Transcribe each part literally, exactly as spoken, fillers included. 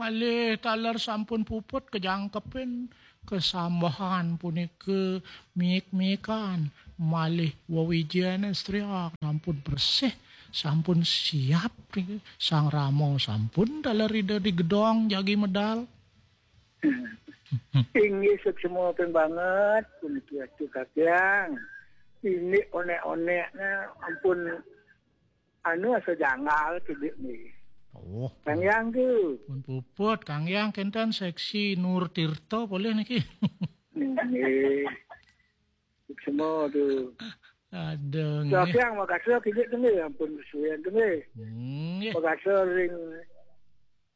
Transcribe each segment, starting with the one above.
Malih taler sampun puput kajangkepin kasambahan punika miik-miikan, malih wewijen estriak sampun bersih, sampun siap niki. Sang Rama sampun taler Ida di gedong jagi medal. Inggih, suksma ping banget puniki Atu Kakang. Ini onek-oneknya ampun anu asa janggal kidik nih. Oh, Kang Yang tu. Pun puput, Kang Yang kenten seksi Nur Tirta boleh niki. Nggih. Semua tu. Ada nggih. Kakang makasih kidik tu nih, ampun suyan tu nih. Nggih. Makasih ring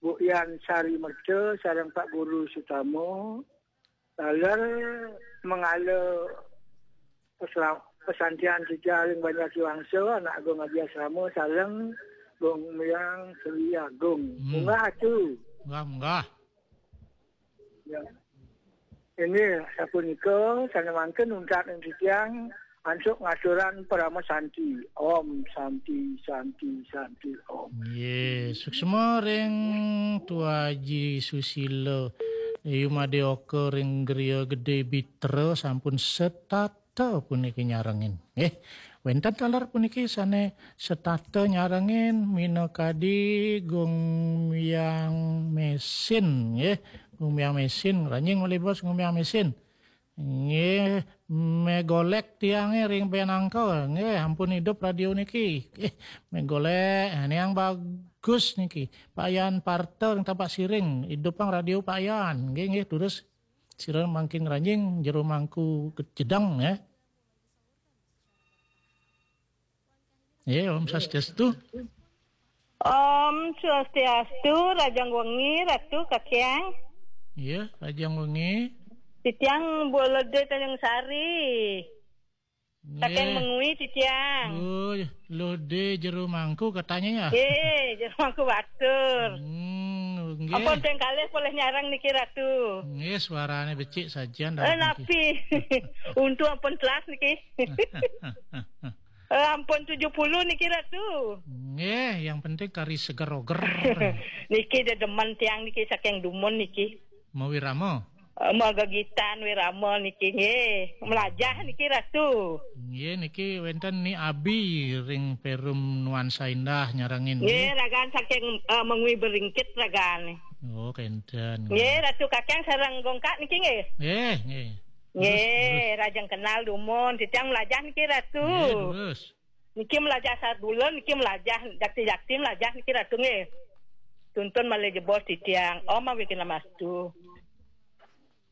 Bu Yan Sari Merca sareng Pak Guru Sutama. Taler mengala pesla- pesantian sida ring Banjar Kiwangsa, anak Agung Adi Asrama sareng Gung Miang Sri Agung. Hmm. Munggah tu. Munggah, munggah. Ya. Ini sapunika sane mangkin untat ing titiang ansuk ngaturan parama santi. Om Santi, Santi, Santi, Om. Nggih, suksma ring Tuaji Susila. Yumadeoka ring Griya Gede Bitra sampun setata puniki nyarengin. Nggih, wenten taler puniki sane setata nyarengin minakadi Gung Miang Mesin, nggih. Gung Miang Mesin, ranjing malih bos Gung Miang Mesin. Nggih, megolek tiange ring Benangka. Nggih, ampun idup radio niki. Nggih, megolek. Nah, niang bagus niki. Pak Yan Parta ring Tapak Siring, idupang radio Pak Yan. Nggih, nggih, terus sira mangkin ngranjing jero mangku kejedang ya. Nggih, Om Swastiastu. Om Swastiastu, rajang wengi, Ratu Kakang. Iya, rajang wengi. Titiang Bolode Tanjung Sari. Saking Nggih. Mengwi titiang. Oh, lode jero mangku katanya ya. Eh, jero mangku batur. Hmm, nggih. Ampun ping kalih polih nyarang niki Ratu. Nggih, suarane becik sajian Eh, napi? Untung ampun telas niki. Eh, ampun tujuh puluh niki Ratu. Nggih, yang penting kari seger oger. Niki dedemen tiang niki saking dumun niki. Mawirama. Eh, magegitan wirama niki nggih. Melajah niki Ratu. Nggih, niki wenten Ni Abi ring Perum Nuansa Indah nyarengin. Nggih, ragan saking eh, Mengwi Beringkit ragan. Oh, kenten. Nggih, Ratu Kakang sareng Gongkak niki nggih. Nggih, nggih. Nggih, rajang kenal dumun. Titiang melajah niki Ratu. Nggih, terus. Niki melajah sabulan, niki melajah jakti-jakti melajah niki Ratu nggih. Tuntun malih jebos titiang. Om awighnamastu.